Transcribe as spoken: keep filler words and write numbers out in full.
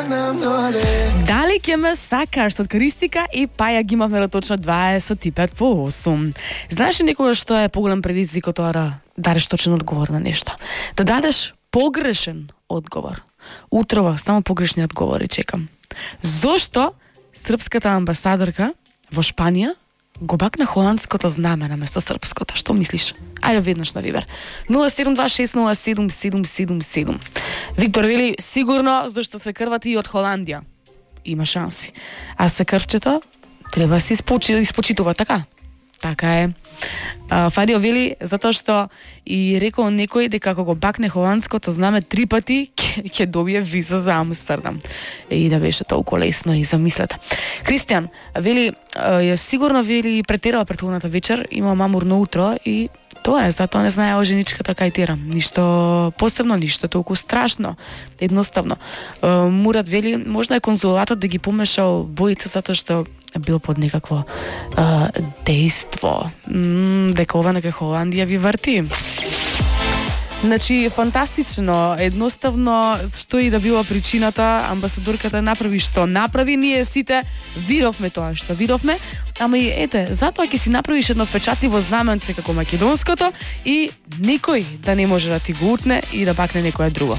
Дали ќе ме сакаш од Кристика и Паја ги имавме точно дваесет и пет по осум. Знаеш ли некогаш што е поголем предизвик од тоа да дадеш точен одговор на нешто? Да дадеш погрешен одговор. Утрова само погрешни одговори чекам. Зошто српската амбасадорка во Шпанија го бакна холандското знаме наместо српското? Што мислиш? Ајде веднаш на Вибер. нула седум два шест нула седум седум седум седум. Виктор вели сигурно зашто се крвати и од Холандија. Има шанси. А се крвчето треба да се испочи, испочитува, така? Така е. А, Фадио вели затоа што и рекол некој дека ако го бакне холандското знаме три пати ќе добие виза за Амстердам. И да беше толку лесно и замислете. Кристијан вели ја сигурно вели претерала претходната вечер, има мамурно утро и тоа е, затоа не знаеа женичката кај тера. Ништо посебно, ништо толку страшно. Едноставно. Мурат вели можда е конзулатот да ги помешал боите затоа што бил под некакво а, дејство. М, дека ова нека Холандија ви врти. Значи, фантастично, едноставно, што и да била причината, амбасадорката направи што направи, ние сите видовме тоа што видовме, ама и ете, затоа ќе си направиш едно впечатливо знаменце како македонското и никој да не може да ти го утне и да бакне некое друго.